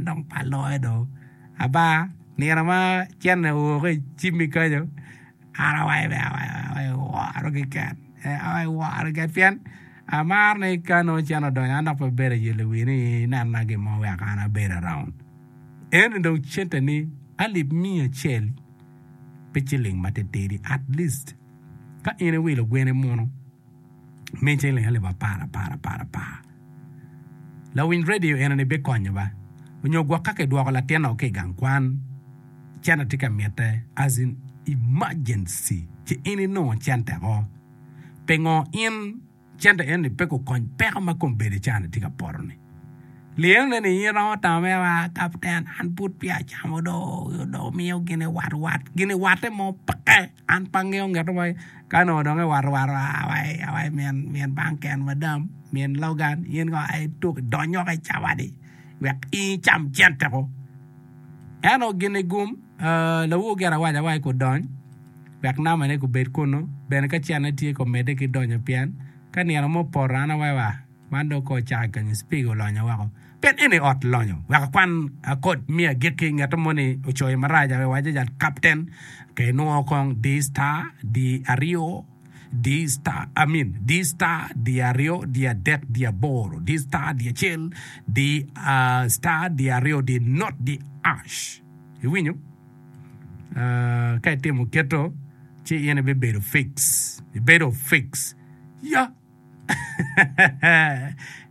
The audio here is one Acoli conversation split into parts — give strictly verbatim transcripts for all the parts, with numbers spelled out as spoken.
dong pa loyo do aba nino ma cene oo ki icimmi kenyo an awaco ni awaco woro keken awaco woro keken pien amaro ni ka nongo cene odonyo an dok pe abedo ayelo wii ni inena gin mo wek an abed around eni dong cente ni alip miya acel pi ciling matitidi at least ka in iwilo gweni muno mi ciling alip apar apar apar apar lawiny radio eni bikonyo ba onyo gwok ka kidwoko latin-o ki i gang kwan cente tye ka mitte as in emergency ci in inongo cente o pingo in cente eni pe gukony peko ma kombeddi cani tye ka poto-ni lyenone ni in iromo tamo mere wa kapten an pud peya acamo do dong miyo gin iwat wat gin iwatte mo peke an pe angeyo nget mo ka onongo dong iwato wato awaci min min banken madam min Logan in kong ituk idony woko i cawa-ni wek in icam cente ko ento gin igum lawor gire awaco awaci gudony wek nambane gubed kunu bene ka cente tye komedde ki donyo pien ka nino mo opoto an awaci wa man dong kong ocako kenyo speaker olonyo woko pien eni ot lonyo wek akwan akod me agikki nget mo ni ocoyo marac awaco jal kapten ke inwongo kong D star D aryo D star I mean D star D aryo D adek D aboro D star D acel D uh, star D aryo D not D ash iwinyo uh, ka itimo keto ci in ibibedo fix ibedo fix ya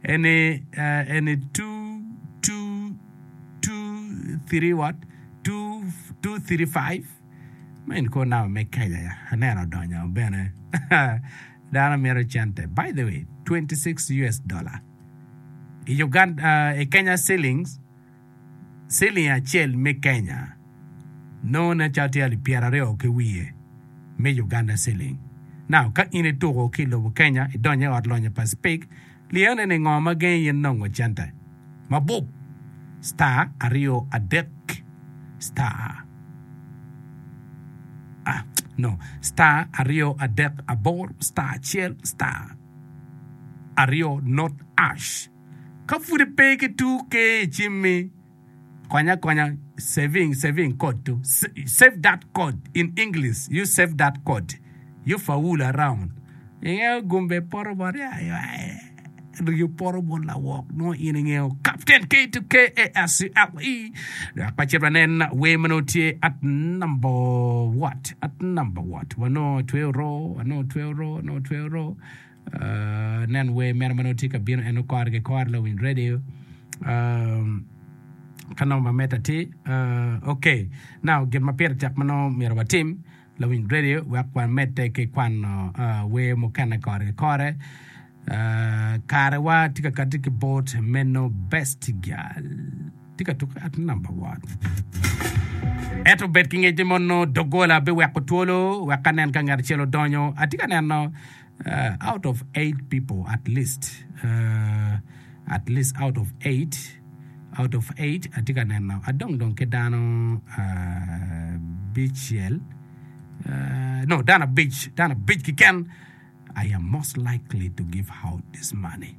eni uh, eni two two two three what two two three five ma en ko namba me Kenya ya aneno odonyo bene dano mito cente by the way twenty six US dollar i Uganda uh, i Kenya shillings siling acel me Kenya nongo nen calo tye alip pyeraryo ki wiye me Uganda shilling now ka in ituko ki i lobo Kenya idonyo i ot lonyo pa Speke lyene ni ngo ma gengi in nongo cente mabup star aryo adek star ah no star aryo adek aboro star acel star aryo not ash ka pud ipe ki two K i cimmi konya konya saving saving code to save that code in English you save that code you fool around ingeyo gumbe poto bot rio poto bot lawok nongo in ingeyo captain K to K A S C L E dok pa cit wanen wer ma nongo tye at number what at number what wanongo tweyo ro wanongo tweyo ro wanongo tweyo ro uh, nen wer mere ma nongo tye ka bino en kore ki kore lawiny radio um, ka namba meta tye uh, ok now gin ma pire tek ma nongo myero watim lawiny radio wek wamedde ki kwano uh, wer mukene kore ki kore uh, karewa tye ka kati ki bot meno best girl tye ka tuko at number one ento bed ki ngec ni mono dogola biweko twolo wek anen ka ngat acel odonyo atye ka neno uh, out of eight people at least uh, at least out of eight out of eight atye ka neno adong dong ki dano uh, bicel uh, no dano abic dano abic keken I am most likely to give out this money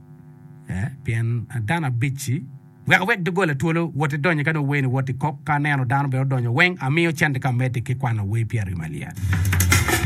eh, pien dano abic-ci wek awek dogola twolo wot idonyo ka nongo weni wot ikok ka aneno dano bene odonyo weng amiyo cente ka medde ki kwano wer pyeraryo malyet.